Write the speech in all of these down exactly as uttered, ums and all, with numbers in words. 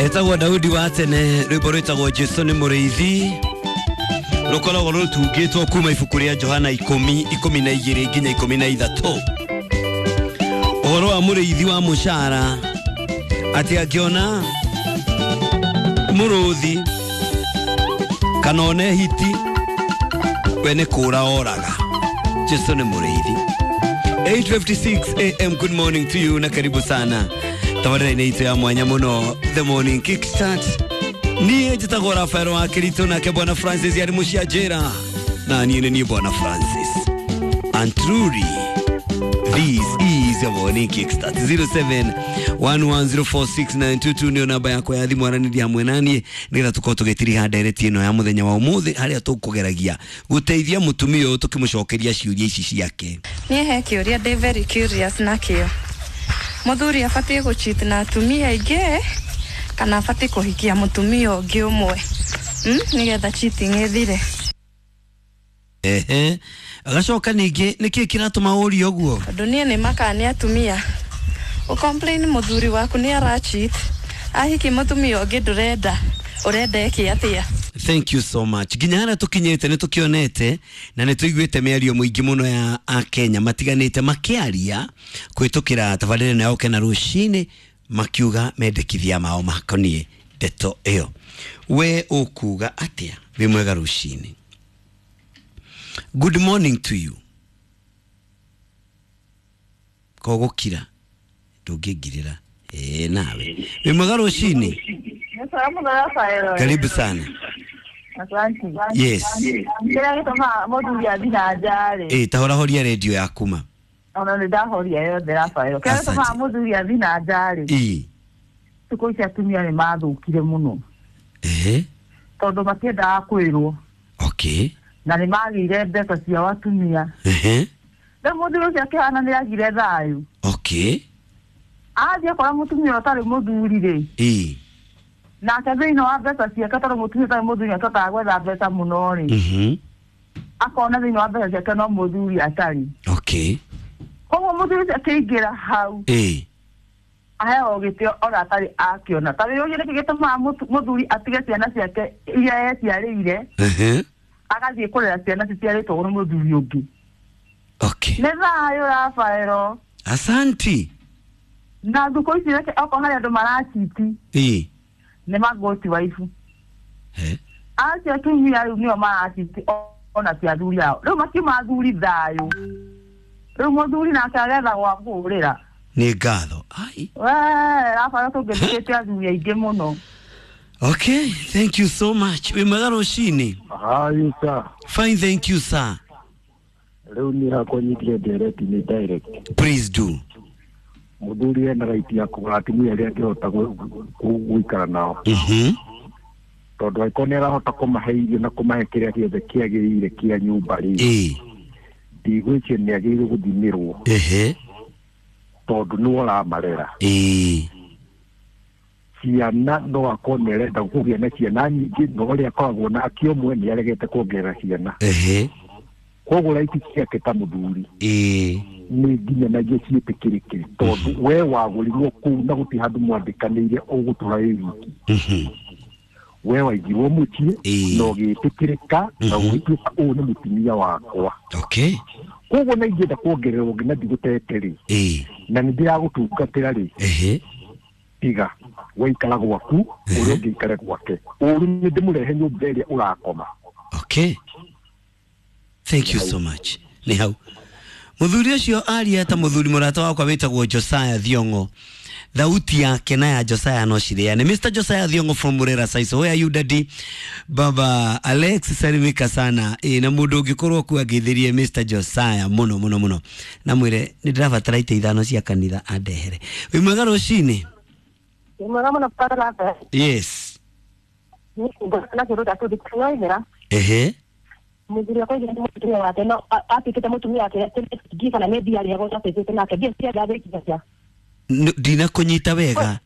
Etagwo Daudi wa tene rwĩmbo rwĩtagwo Jesu nĩ mũrĩithi rũkoragwo rũtungĩtwo kuma ibuku rĩa Johana ikũmi ikũmi na igĩrĩ nginya ikũmi na ithatũ. Ũhoro wa mũrĩithi wa mũcara atĩ angĩona mũrũthi kana one hiti we nĩ kũra oraga. Jesu nĩ mũrĩithi. eight fifty-six A M good morning to you na karibu sana tabarĩra-inĩ itũ ya mwanya mũno The Morning Kickstart. Niĩ njĩtagwo Rafael wa Kirito nake Bwana Francis arĩ mũcianjĩra na niĩ nĩ niĩ Bwana Francis. And truly this is your Morning Kickstart. zero seven one one zero four six nine two two nĩyo namba yakwa ya thimũ, aranĩria hamwe naniĩ nĩgetha tũkorwo tũgĩtiriha ndereti ĩno ya mũthenya wa ũmũthĩ harĩa tũkũgeragia gũteithia mũtumia ũyũ tũkĩmũcokeria ciũria ici ciake. Niĩ he kĩũria ndĩ very curious nakĩo. Mũthuri abatiĩ gũcheat na atumia aingĩ kana abatiĩ kũhikia mũtumia ũngĩ ũmwe, mm? nĩgetha cheating ĩthire. Ehe, agacoka ningĩ nĩkĩĩ kĩratũma ũrie ũguo? Tondũ niĩ nĩ makaga nĩ atumia. Ũcomplain mũthuri waku nĩ aracheat, ahiki mũtumia ũngĩ ndũrenda, ũrenda eke atĩa? Thank you so much. Nginya harĩa tũkinyĩte nĩ tũkĩonete na nĩ tũiguĩte mĩario mũingĩ mũno ya Akenya matiganĩte makĩaria kũhĩtũkĩra tabarĩra ĩno ya Ũkena rũcinĩ makiuga mendekithia mao makoniĩ ndeto ĩyo. We ũkuga atĩa? Wĩ mwega rũcinĩ. Good morning to you. Kogũkira ndũngĩngirĩra. Ĩĩ nawe. Wĩ mwega rũcinĩ. Karibu sana. Asante. Yes. Kĩrĩa gĩtũmaga mũthuri athiĩ na nja rĩ. Ĩĩ, ta horahoria redio yaku ma. Ona nĩ ndahoria yothe Rafael. Kĩrĩa gĩtũmaga mũthuri athiĩ na nja rĩ. Ĩĩ. Thikũ ici atumia nĩ mathũkire mũno. Ehe. Tondũ matiendaga kwĩrwo. Okay. Na nĩ magĩire mbeca ciao atumia. Ehe. Rĩu mũthuri ũcio akĩhana nĩ agire thayũ. Okay. Athiĩ akora mũtumia ũtarĩ mũthuri rĩ. Ĩĩ. Nake thĩinĩ wa mbeca ciake tondũ mũtumia ũtarĩ mũthuri nĩatokaga gwetha mbeca mũno rĩ. Mhm. Akona thĩinĩ wa mbeca ciake no mũthuri atarĩ. Okay. Koguo mũthuri ũcio akĩingĩra hau. Ĩĩ. Aheo gĩtĩo ona atarĩ akĩona. Ta rĩu nĩkĩ gĩtũmaga mũthuri atige ciana ciake iria eciarĩire. Ehe. Agathiĩ kũrera ciana ciciarĩtwo nĩ mũthuri ũngĩ. Okay. Nĩ thayũ Rafaelo. Asanti. Na thikũ ici reke okorwo harĩ andũ marachiti. Ĩĩ. Nĩ magoti waifu. He. Acio atumia rĩu nĩo marachiti ona ti athuri ao. Rĩu makiuma athuri thayũ. Rĩu mũthuri nake agetha gwa kũũrĩra. Nĩ ngatho. Ai. We, Rafaelo tũngĩthikĩte athuri aingĩ mũno. Okay, thank you so much. Wĩ mwega rũcinĩ. Hi sir. Fine, thank you sir. Rĩu niĩ hakwa nyitire ndereti nĩ direct. Please do. Mũthuri ena right ya kũgũra atumia arĩa angĩhota gũikara nao. Mhm. Tondũ angĩkorwo nĩ arahota kũmahe irio na kũmahe kĩrĩa gĩothe kĩagĩrĩire kĩa nyũmba rĩ. Ĩĩ. Ndigwĩciria nĩ agĩrĩirwo gũthimĩrwo. Ehe. Tondũ nĩwe ũramarera. Ĩĩ. Ciana no akorwo nĩ arenda kũgĩa na ciana nyingĩ no ũrĩa akoragwo nake ũmwe nĩ aregete kuongerera ciana. Ehe. Koguo right ciake ta mũthuri. Ĩĩ. Nĩ nginyanagia ciĩtĩkĩrĩke tondũ we wagũrirwo kũu na gũtirĩ handũ mwandĩkanĩire ũgũtũra wĩ wiki. Mhm. We waigirwo mũciĩ Ĩĩ. na ũgĩtĩkĩrĩka na ũgĩtuĩka ũyũ nĩ mũtumia wakwa. Okay. Koguo na ingĩenda kuongererwo ũngĩ na ndigũtete rĩ. Ĩĩ. Na nĩ ndĩragũtungatĩra rĩ. Ehe. Tiga waikara gwaku ũrĩa ũngĩ aikare gwake. Ũru nĩ ndĩmũrehe nyũmba ĩrĩa ũrakoma. Okay. Thank you so much. Nĩ hau. Mũthuri ũcio aria ta mũthuri mũrata wakwa wĩtagwo Josiah Thiong'o. Thauti yake na ya Josiah no cireane. Mister Josiah Thiong'o from Murera Saiso. Where are you daddy? Baba Alex salimika sana. E, na mũndũ ũngĩkorwo kuo angĩthĩrie Mister Josiah mũno mũno mũno. Na mwĩre nĩ ndĩrabatara itĩ ithano cia kanitha andehere. Wĩ mwega rũcinĩ? Wĩ mwega mũno Father Rafael. Yes. Nĩ kĩndũ gĩa Ehe. Mũthuri wakwa aigire mũtumia wake no atuĩkĩte mũtumia wake ngiuga kana nĩ mbia arĩhagwo atuĩkĩte nake mbia cia ngathĩki. Ndinakũnyita wega.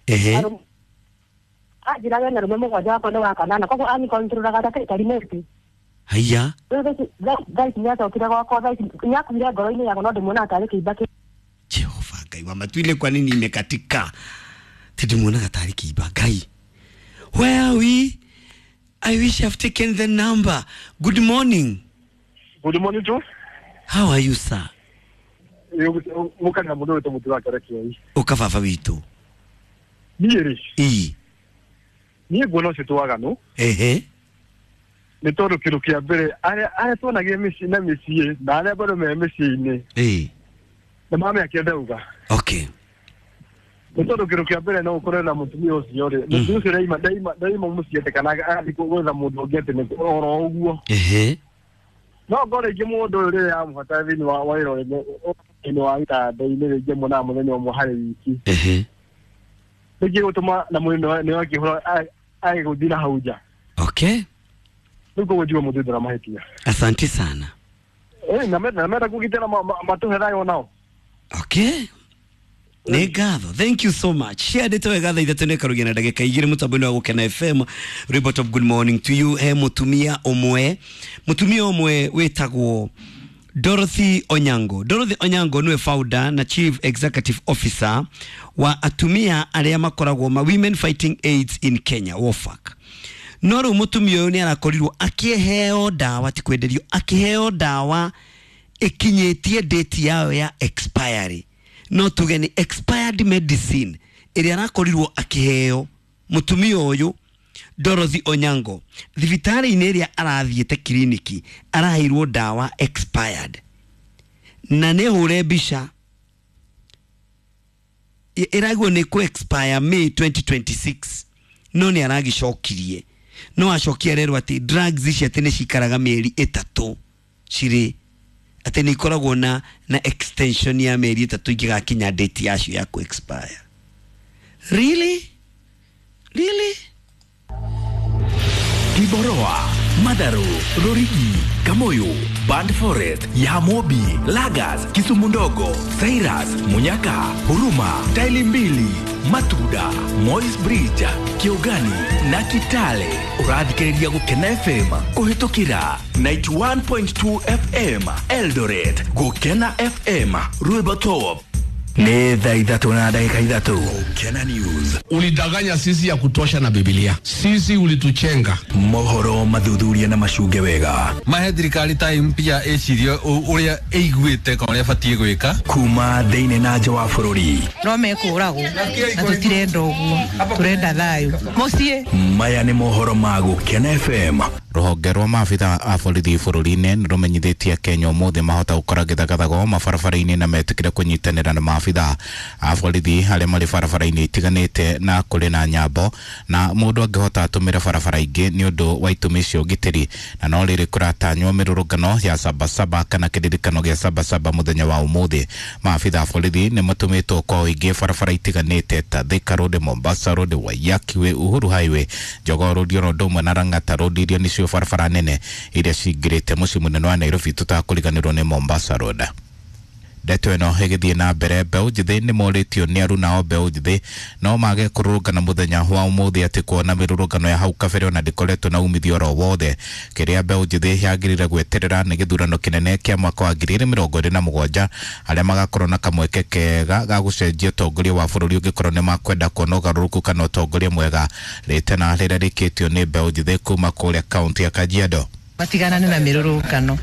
Ehe. Anjĩraga ena arũme mũgwanja wakwa nĩ wa kanana koguo anikontrolaga ta karimoti. Haiya. Rĩu thaa ici nĩacokire gwakwa thaa ici nĩakuire ngoro-inĩ yakwa no ndĩmuonaga tarĩ kĩimba. Jehova Ngai Wa Matuile kwa nini imekatika? Tidimuonaga tarĩ kĩimba Ngai. Where are we? I wish I've taken the number. Good morning. Good morning to. How are you, sir? Mukana mundu witũ mũtu wa kerekei. Ũka baba witũ. Niĩ rĩ. Ii. Niĩ nguona ũcio twaganu. Ehe. Nĩ tondũ kĩndũ kĩa mbere arĩa arĩa tuonagire mĩciĩ na mĩciĩ na arĩa bado me mĩciĩ-inĩ. Ii. Na mamĩakĩra ndauga. Okay. Nĩ tondũ kĩndũ kĩa mbere no ũkorwo na mũtumia ũcio rĩ. Mũtumia ũcio ndaima ndaima ndaima mũciĩ atĩ kana agathiĩ gwetha mũndũ ũngĩ atĩ nĩ oro ũguo. Ehe. No ngorwo rĩngĩ mũndũ ũyũ rĩrĩa amũbatara thĩinĩ wa wa wĩra thĩinĩ wa gĩtanda-inĩ rĩngĩ muonaga mũthenya ũmwe harĩ wiki. Ehe. Rĩngĩ gũtũma na mũndũ nĩ wakĩhũra agĩgũthiĩ na hau nja. Okay. Rĩu koguo njigue mũndũ ndara mahĩtia. Asante sana. Eh, na menda na menda kũgitĩra matũhe thayũ nao. Okay. Nĩ ngatho. Thank you so much. Share ndeto wega thaa ithatũ nĩkarugia na ndagĩka igĩrĩ mũtambo-inĩ wa Gũkena F M. Report of good morning to you. He mũtumia ũmwe. Mũtumia ũmwe wĩtagwo Dorothy Onyango. Dorothy Onyango niwe founder na chief executive officer wa atumia arĩa makoragwo ma Women Fighting AIDS in Kenya, WOFAC. No rĩu mũtumia ũyũ nĩ arakorirwo akĩheo ndawa, ti kwenderio, akĩheo ndawa ĩkinyĩtie date yayo ya expiry. No tuge ni expired medicine ĩrĩa arakorirwo akĩheo mũtumia ũyũ Dorothy Onyango. Thibitarĩ-inĩ ĩrĩa arathiĩte kiriniki araheirwo ndawa expired. Na nĩ hũre mbica ĩragwo nĩ kũ expire May twenty twenty-six, no nĩ aragicokirie. No acokia rerwo atĩ drugs ici atĩ nĩ cikaraga mĩeri ĩtatũ cirĩ atĩ nĩ ikoragwo na na extension ya mĩeri ĩtatũ ingĩgakinya date yacio ya kũ expire. Really? Really? Kiboroa, Madaru, Rorigi, Kamoyo, Band Forest, Yamobi, Lagas, Kisumu Ndogo, Cyrus, Munyaka, Huruma, Taili Mbili, Matuda, Moi's Bridge, Kiogani na Kitale. Ũrathikĩrĩria Gũkena F M kũhĩtũkĩra ninety-one point two F M Eldoret, Gũkena F M Rwĩmbo Top. Nĩ thaa ithatũ na ndagĩka ithatũ. Gũkena News. Ulidanganya sisi ya kutosha na Biblia. Sisi ulituchenga. Mohoro mathuthuria na macunge wega. Mahe thirikari time pia ĩcirie ũrĩa ĩiguĩte kana ũrĩa ĩbatiĩ gwĩka. Kuma thĩinĩ na nja wa bũrũri. No mekũragwo na tũtirenda ũguo, tũrenda thayũ. Mũciĩ. Maya nĩ mohoro ma Gũkena F M. Rũhonge rwa maabitha a borithi bũrũri-inĩ nĩ rũmenyithĩtie Kenya ũmũthĩ mahota gũkora gĩthagathago mabarabara-inĩ na metĩkĩre kũnyitanĩra na maabitha a borithi arĩa marĩ barabara-inĩ itiganĩte na kũrĩ na nyambo na mũndũ angĩhota atũmĩre barabara ingĩ nĩ ũndũ wa itũmi cia ũgitĩri. Na no rĩrĩ kũratanywo mĩrũrũngano ya Sabasaba kana kĩririkano gĩa Sabasaba mũthenya wa ũmũthĩ. Maabitha a borithi nĩ matũmĩtwo kwa ũingĩ barabara itiganĩte ta Thika Road, Mombasa Road, Waiyaki Way, Uhuru Highway, Jogoo Road oro ũndũ ũmwe na Lang'ata Road iria nĩcio barabara nene iria cingĩrĩte mũciĩ mũnene wa Nairobi tũtakũriganĩrwo nĩ Mombasa Road. Ndeto ĩno ĩgĩthiĩ na mbere, mbeũ njĩthĩ nĩ morĩtio nĩ aruna o mbeũ njĩthĩ no mage kũrũrũngana mũthenya wa ũmũthĩ atĩ kuona mĩrũrũngano ya hau kabere ona ndĩkoretwo na umithio oro wothe. Kĩrĩa mbeũ njĩthĩ yagĩrĩire gweterera nĩ gĩthurano kĩnene kĩa mwaka wa ngiri igĩrĩ mĩrongo ĩrĩ na mũgwanja arĩa magakorwo na kamweke kega ga gũcenjia ũtongoria wa bũrũri ũngĩkorwo nĩ makwenda kuona ũgarũrũku kana ũtongoria mwega. Rĩtana rĩrĩa rĩkĩtio nĩ mbeũ njĩthĩ kuma kũrĩa kaũntĩ ya Kajiado. Matiganane na mĩrũrũngano.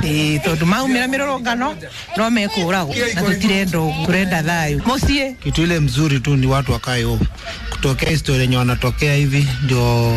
Ĩĩ tondũ maumĩra mĩrũrũngano no mekũragwo na tũtirenda ũguo, tũrenda thayũ. Mũciĩ. Kitu ile mzuri tu ni watu wakae home. Kutokea historia yenye wanatokea hivi ndio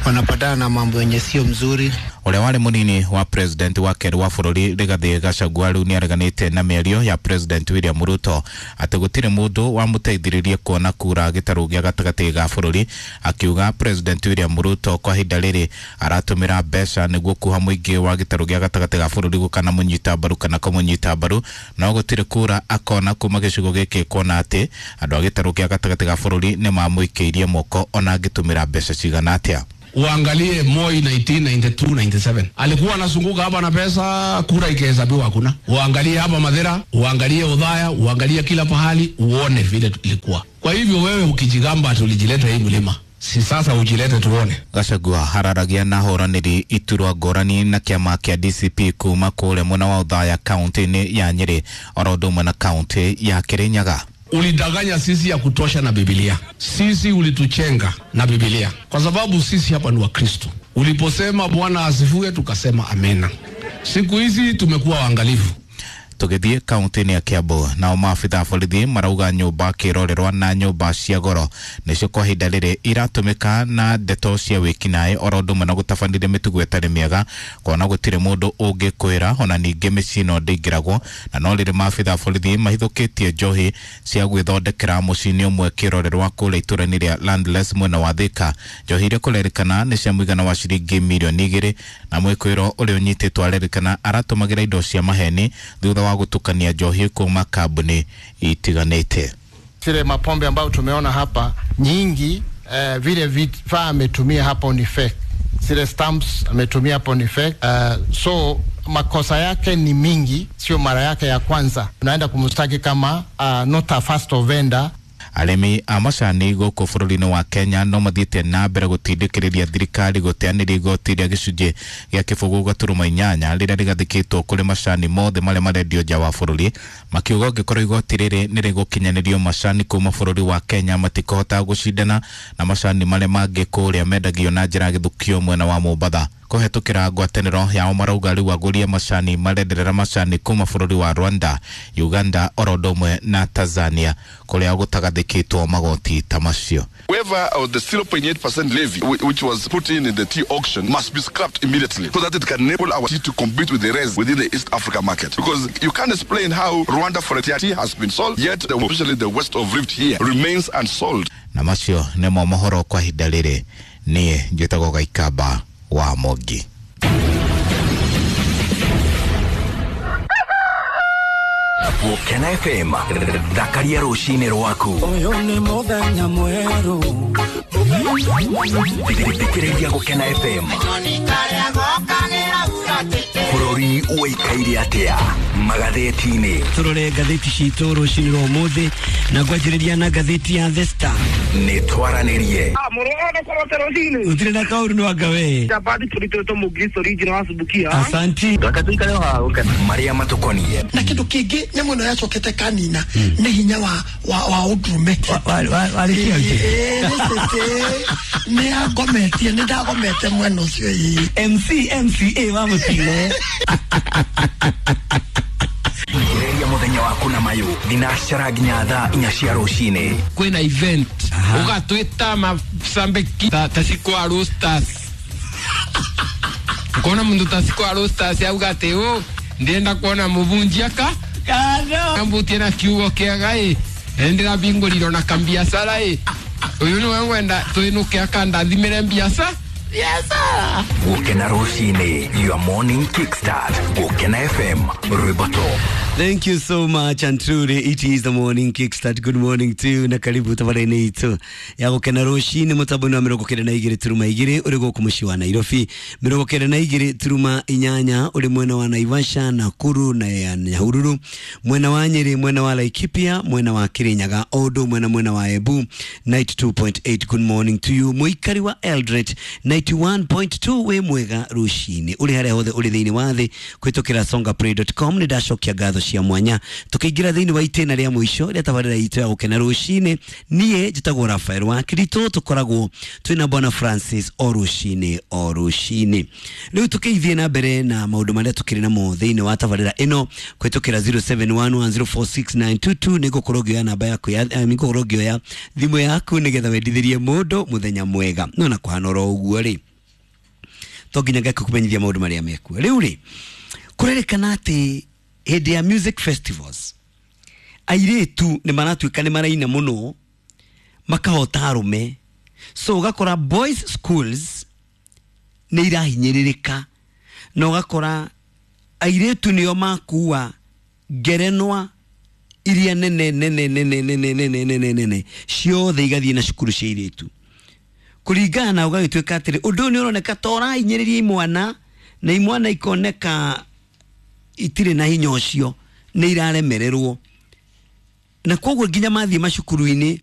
wanapatana na mambo yenye sio mzuri. Ũrĩa warĩ mũnini wa president wa kerĩ wa bũrũri Rigathĩ Gachagua rĩu nĩareganĩte na mĩario ya president William Ruto atĩ gũtirĩ mũndũ wamũteithĩrĩrie kuona kura gĩtarũ gĩa gatagatĩ ga bũrũri, akiuga president William Ruto kwa ihinda rĩrĩ aratũmĩra mbeca nĩguo kuha mũingĩ wa gĩtarũ gĩa gatagatĩ ga bũrũri gũkanamũnyita mbaru kana kũmũnyita mbaru, no gũtirĩ kura akona kuma gĩcigo gĩkĩ kuona atĩ andũ a gĩtarũ gĩa gatagatĩ ga bũrũri nĩmamũikĩirie moko ona angĩtũmĩra mbeca cigana atĩa. Uangalie Moi nineteen ninety-two ninety-seven alikuwa anazunguka hapa na pesa, kura ikihesabiwa hakuna. Uangalie hapa Madhera, uangalie Udhaya, uangalie kila pahali, uone vile ilikuwa. Kwa hivyo wewe ukijigamba tulijileta hii mlima, Si sasa ujilete tuone. Gachagua hararagia na hũranĩri iturwa ngũrani na kĩama kĩa D C P kuma kũrĩa mwena wa Othaya kaunti-inĩ ya Nyĩrĩ oro ũndũ ũmwe na kaunti ya Kirinyaga. Ulidanganya sisi ya kutosha na Biblia. Sisi ulituchenga na Biblia. Kwa sababu sisi hapa ni Wakristo. Uliposema Bwana asifiwe tukasema amena. Siku hizi tumekuwa waangalifu. Tũgĩthiĩ kaunti-inĩ ya Kiambu, nao maabitha a borithi marauga nyũmba kĩrorerwa na nyũmba cia goro nĩcio kwa ihinda rĩrĩ iratũmĩka na ndeto cia wĩkinaĩ oro ũndũ ũmwe na gũtabanĩria mĩtugo ĩtarĩ mĩega kuona gũtirĩ mũndũ ũngĩkwĩra ona ningĩ mĩciĩ ĩno ndĩingĩragwo na no rĩrĩ maabitha a borithi mahithũkĩtie njohi cia gwĩthondekera mũciĩ-inĩ ũmwe kĩrorerwa kũrĩa itũũra-inĩ rĩa Landless mwena wa Thika. Njohi iria kũrerĩkana nĩ cia mũigana wa ciringi mirioni igĩrĩ na mwĩkũĩro ũrĩa ũnyitĩtwo arerĩkana aratũmagĩra indo cia maheni thutha wa gutukania njohi kuma kambuni itiganĩte. Zile mapombe ambayo tumeona hapa nyingi, eh, vile vifaa ametumia hapo ni fake. Zile stamps ametumia hapo ni fake. Uh, so makosa yake ni mingi, sio mara yake ya kwanza. Tunaenda kumshtaki kama uh, not a first offender. Arĩmi a macani gũkũ bũrũri-inĩ wa Kenya no mathiĩte na mbere gũtindĩkĩrĩria thirikari gũteanĩria igoti rĩa gĩcunjĩ gĩa kĩbũgũ gaturuma inyanya rĩrĩa rĩgathĩkĩtwo kũrĩ macani mothe marĩa marendio nja wa bũrũri, makiuga ũngĩkorwo igoti rĩrĩ nĩ rĩgũkinyanĩrio macani kuma bũrũri wa Kenya matikũhota gũcindana na macani marĩa mangĩ kũrĩa mendagio na njĩra ya gĩthukio mwena wa Mombatha. Kũhetũkĩra ngwatanĩro yao marauga rĩu agũri a macani marenderera macani kuma bũrũri wa Rwanda, Uganda oro ũndũ ũmwe na Tanzania kũrĩa gũtagathĩkĩtwo magoti ta macio. Waiver of the zero point eight percent levy which was put in in the tea auction must be scrapped immediately so that it can enable our tea to compete with the rest within the East Africa market. Because you can't explain how Rwanda for tea has been sold, yet the, especially the west of Rift here remains unsold. Na macio nĩmo mohoro kwa ihinda rĩrĩ. Niĩ njĩtagwo Gaikamba wa Mogi. Gũkena F M, thakaria rũcinĩ rwaku. Ũyũ nĩ mũthenya mwerũ. Thikĩrĩria Gũkena F M. Bũrũri ũikaire atĩa magathĩti-inĩ? Tũrore ngathĩti citũ rũcinĩ rwa ũmũthĩ na ngwanjĩrĩria na ngathĩti ya The Star. Nĩ twaranĩrie. Gũtirĩ na kaũru nĩ wanga we. Asanti. Marĩa matũkoniĩ. Na kĩndũ kĩngĩ nyamũ ĩno yacokete kanina nĩ hinya wa wa wa ũndũrũme. Nĩ agometie, nĩ ndagomete mwena ũcio ĩĩ. M C M C A wa mũtino. Thikĩrĩria mũthenya waku na mayũ thinacara nginya thaa inya cia rũcinĩ. Kwĩna event ũgatwĩta macambĩki ta cikwa roasters. Ukona mundu ta cikwa roasters auga atĩ ũ ndĩrenda kuona mũbunjia ka ambutie na kiugo kĩega ĩ ndĩrabingũrirwo na kambiacara ĩ ũyũ nĩwe ngwenda twĩnũke akandathimĩre mbiaca. Gũkena rũcinĩ, your morning kickstart. Gũkena F M, rwĩmbo top. Thank you so much, and truly it is the morning kickstart. Good morning to you na karibu tabarene itu ya gukena rũcinĩ mũtambo-inĩ wa mĩrongo kenda na igĩrĩ turuma igĩrĩ ũrĩ gũkũ mũciĩ wa Nairobi, mĩrongo kenda na igĩrĩ turuma inyanya ũrĩ mwena wa Naivasha, Nakuru na ya Nyahururu, mwena wa Nyeri, mwena wa Laikipia, mwena wa Kirinyaga, o ũndũ ũmwe na mwena wa Embu ninety two point eight. Good morning to you mũikari wa Eldoret ninety one point two wĩ mwega rũcinĩ ũrĩ harĩa hothe ũrĩ thĩinĩ wa thĩ kũhĩtũkĩra songaplay dot com. Nĩ ndacokia ngatho cia mwanya tukiingira thiini wa itena ria mwisho ria tabarira itu ya gukena rucini. Nie njitagwo Rafael wa Kirito, tukoragwo twina Bwana Francis o rucini o rucini. Riu tukiithie na mbere na maundu maria tukiri namo thiini wa tabarira ino kwitukira zero seven one one zero four six nine two two. Nigukorwo ngioya namba yaku ya nigukorwo ngioya thimu yaku nigetha wendithirie mundu muthenya mwega. No na kuhana oro uguo ri to nginya ngekumenyithia maundu maria mekuo. Riu ri kurerikana ati hĩndĩ ya music festivals airĩtu nĩ maratuĩka nĩ maraina mũno makahota arũme, so ũgakora boys schools nĩ irahinyĩrĩrĩka na ũgakora airĩtu nĩo makua ngerenwa iria nene nene nene nene nene nene nene ciothe igathiĩ na cukuru cia airĩtu kũringana na ũgagĩtuĩka atĩrĩ ũndũ ũyũ nĩ ũroneka ta ũrahinyĩrĩria imwana na imwana ikoneka itirĩ na hinya ũcio nĩ iraremererwo, na koguo nginya mathiĩ macukuru-inĩ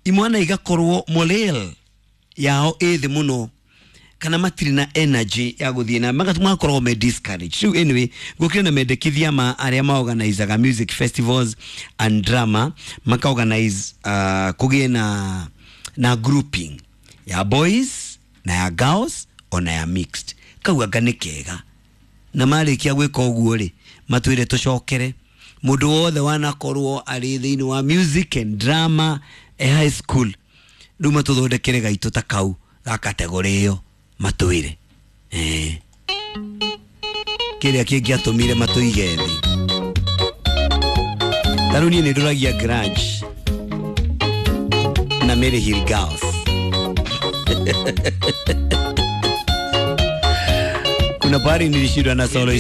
imwana igakorwo morale yao ĩ thĩ mũno kana matirĩ na energy ya gũthiĩ na magakorwo me discouraged. Rĩu anyway, gũkĩrĩ na mendekithia ma arĩa maorganizaga music festivals and drama, makaorganize uh, kũgĩe na na grouping ya boys na ya girls ona ya mixed. Kau anga nĩ kega, na marĩkia gwĩka ũguo rĩ, matwĩre tũcokere mũndũ wothe wanakorwo arĩ thĩinĩ wa music and drama e high school, rĩu matũthondekere gaitũ ta kau ga kategori ĩyo, matwĩre eh kĩrĩa kĩngĩatũmire matũige thĩ. Ta rĩu niĩ nĩ ndũragia Grudge na Mary Hill Girls. Kuna pahali nilishindwa na solo.